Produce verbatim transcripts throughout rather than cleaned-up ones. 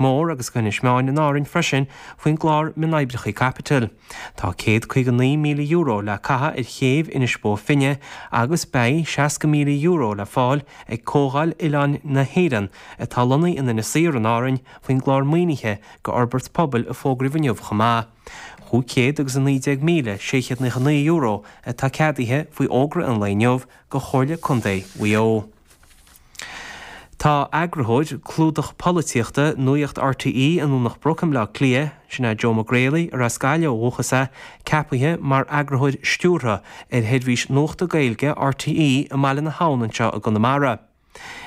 Mór agus go hInis Meáin in Árainn freisin faoin gclár Mionoibreacha Caipitil. Tá céad caoga naoi míle euro le caitheamh ar chéibh Inis Bó Finne agus beidh seasca míle euro le fáil ag Comhdháil Oileáin na hÉireann atá lonnaithe in Inis Oírr in Árainn faoin gclár maoinithe go fhorbairt pobail a fógraíodh inniu chomh maith. Cúig chéad agus a naoi déag míle sé chéad nócha naoi euro atá ceadaithe faoi fhógra an lae inniu go Chomhairle Contae Mhaigh Eo. Tá eagarthóir clúdach polaitíochta Nuacht RTÉ i nDomhnach Broc i mBleá Cliath, sin é Joe McGrailey ar as Gaillimh ó dhúchas é, ceapaithe mar eagarthóir stiúrtha ar sheirbhís nuachta Gaeilge RTÉ i mBaile na hAbhann anseo i gConamara.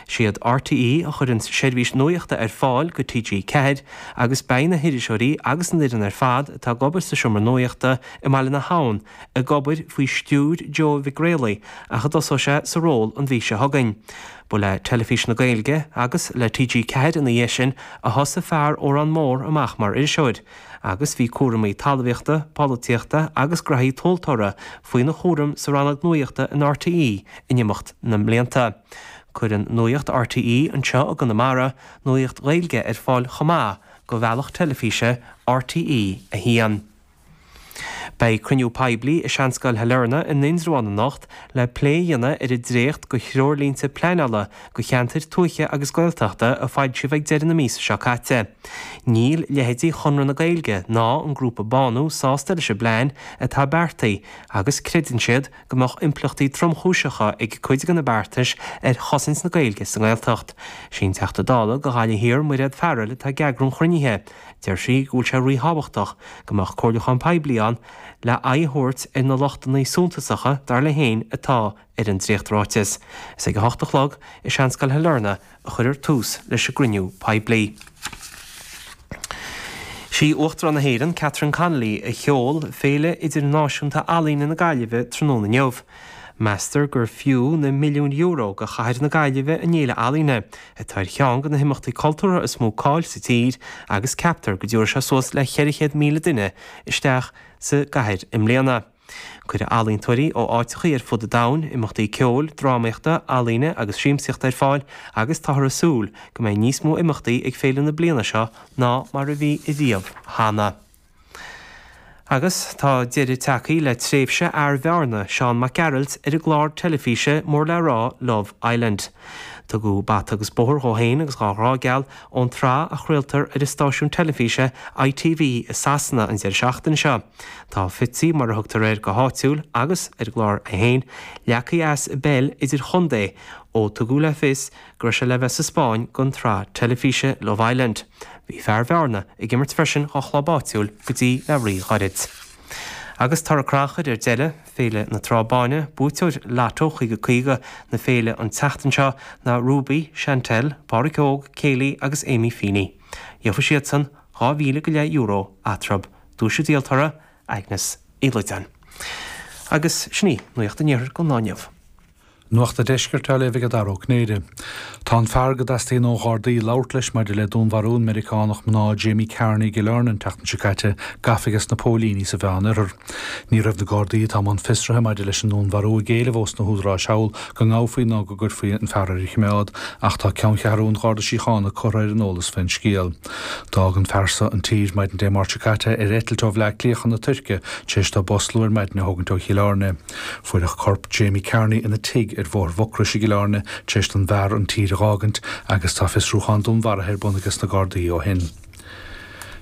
Siad RTÉ a chuireann seirbhís nuachta ar fáil go TG Ceathair agus beidh na hiriseoirí agus an fhoireann ar fad atá ag obair sa seomra nuachta i mBaile na hAbhann ag obair faoi stiúir Joe Mhic Réalaigh ach a dtosóidh sé sa ról an mhí seo chugainn. Ba le Teilifís na Gaeilge agus le TG Ceathair ina dhiaidh sin a thosaigh fear Órán Mór amach mar iriseoir, agus bhí cúraimí talmhaíochta, polaitíochta agus graithí tomhaltóra faoina chúram sa rannóg nuachta in RTÉ in imeacht na mblianta. Cuireann Nuacht RTÉ anseo i gConamara nuacht Ghaeilge ar fáil chomh maith go bhealach teilifíse RTÉ a haon. Beidh cruinniú poiblí i Seanscoil Shailearna in Indreabhán anocht le plé a dhéanamh ar an dréacht go threoirlínte pleanála go cheantair tuaithe agus Gaeltachta a foilsíodh ag deireadh na míosa seo caite. Níl leithéidí Chonradh na Gaeilge ná an grúpa Bánú sásta leis an bplean atá beartaithe agus creideann siad go mbeadh impleachtaí tromchúiseacha ag cuid de na beartais ar chosaint na Gaeilge sa nGaeltacht. Sí an Teachta Dála go Ghaillimh Thiar Mairéad Farrell atá ag eagrú an chruinnithe. Deir sí go bhfuil sé ríthábhachtach go mbeadh comhairliúchán poiblí ann le aghaidh a thabhairt ar na lochtanna suntasacha dar léi féin atá ar an dréachtráiteas. Is ag a hocht a chlog i Seanscoil Shailearna a chuirfear tús leis an gcruinniú poiblí. Sí Uachtarán na hÉireann Catherine Connolly a sheol Féile Idirnáisiúnta Ealaíne na Gaillimhe tráthnóna inniu. Meastar gur fiú na milliúin euro go chathair na Gaillimhe an fhéile ealaíne, atá ar cheann de na himeachtaí cultúrtha is mó cáil sa tír agus ceaptar go dtabharfaidh sé suas le ceithre chéad míle duine isteach sa gcathair i mbliana. Cuireadh ealaíontóirí ó áiteachaí ar fud an domhain, imeachtaí ceoil, drámaíochta, ealaíne agus siamsaíochta ar fáil agus táthar ag súil go mbeidh níos mó imeachtaí ag féile na bliana seo ná mar a bhí riamh cheana. Agus tá deireadh tagtha le tréimhse fhear Bhearna, Seán Mac Gearailt, ar an gclár teilifíse mór le rá Love Island. Tugadh bata agus bóthar dhó féin agus dhá ghrá geal ón tsraith a chraoltar ar an stáisiún teilifíse ITV i Sasana an deireadh seachtaine seo. Tá Fitzy mar a thugtar air go háitiúil agus ar an gclár é féin, leagtha as i bpeil idirchontae ó tugadh le fios go raibh sé le bheith sa Spáinn don tsraith teilifíse Love Island. Bhí fear Bhearna ag imirt freisin dá chlub áitiúil go dtí le ríghairid. Agus toradh crannchuir ar deireadh, Féile na Trá Báine, buaiteoir Lotto caoga caoga na féile an tseachtain seo ná Ruby, Chantel, Pádraig Óg, Kaylee agus Amy Feeney. Gheobhaidh siadsan dhá mhíle go leith euro eatarthu. Duais an díoltóra, Agnes Uí Loideáin. Agus sin í Nuacht an Iarthair don lá inniu. Nuacht an Deiscirt á léamh ag Dara Ó Cinnéide. Tá an fear go dteastaíonn ó Ghardaí labhairt leis maidir le dúnmharú an Meiriceánach mná Jamie Carney i gCill Airne an tseachtain seo caite gafa aige na póilíní sa Mheánoirthear. Ní raibh na Gardaí atá i mbun fiosraithe maidir leis an ndúnmharú ag éileamh ós na húdaráis thall go ngabhfaí nó go gcuirfí an fear ar choimeád, ach tá ceanncheathrú an Gharda Síochána curtha ar an eolas faoin scéal. D'fhág an fear seo an tír maidin Dé Máirt seo caite ar eitilt ó Bhleá Cliath chun na Tuirce tar éis dó bus luath ar maidin a thógaint ó Chill Airne. Fuaireadh corp Jamie Carney ina tigh ar Bhóthar Mhucrois i gCill Airne tar éis don bhfear an tír a dh'fhágaint agus tá fiosrúchán dúnmharaithe ar bun aige na Gardaí ó shin.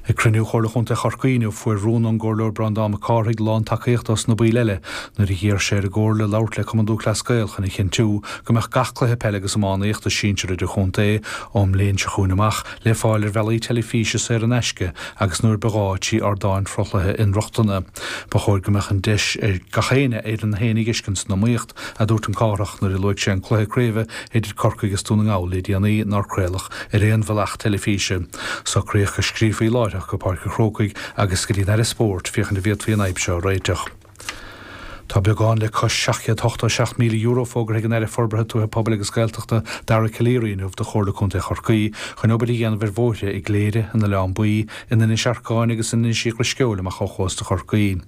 Ag cruinniú Chomhairle Chontae Chorcaí inniu fuair rún ón gComhairleoir Breandán Mac Cárthaigh lántacaíocht ós na baill eile nuair a d'iarr sé ar an gComhairle labhairt le Cumann Lúthchleas Gael chun a chinntiú go mbeadh gach cluiche peile agus iománaíochta sinsir idirchontae ón mbliain seo chugainn amach le fáil ar bhealaí teilifíse saor in aisce agus nuair ba ghá trí ardáin sruthlaithe inrochtana. Ba chóir go mbeadh an deis ar gach éinne Éireann féin a fheiscint san iomaíocht a dúirt an Cárthach nuair a luaigh sé an cluiche craoibhe idir Corcaigh agus Dún na nGall le déanaí nár craoladh ar aon bhealach teilifíse. Socraíodh go scríofaí láithreach go Páirc an Chrócaigh agus go dtí an Aire Spóirt féachaint an bhféadfaí an fhadhb seo a réiteach. Tá beagán le cois seacht chéad ochtó seacht míle euro fógartha ag an Aire Forbartha Tuaithe Pobail agus Gaeltachta Dara Calleary inniu do Chomhairle Contae Chorcaí chun obair a dhéanamh ar bhóithre i gCléire, in Oileán Buí, in Inis Arcáin agus in Inis Drisceoil amach ó chósta Chorcaí.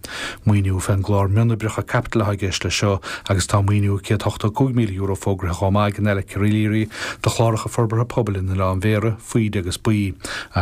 Maoiniú fén gclár mionoibreacha caipitil atá i gceist leis seo agus tá maoiniú céad ochtó cúig míle euro fógartha chomh maith ag an Aire Calleary do chláracha forbartha pobail in Oileán Bhéarra, Faoide agus Baoi agus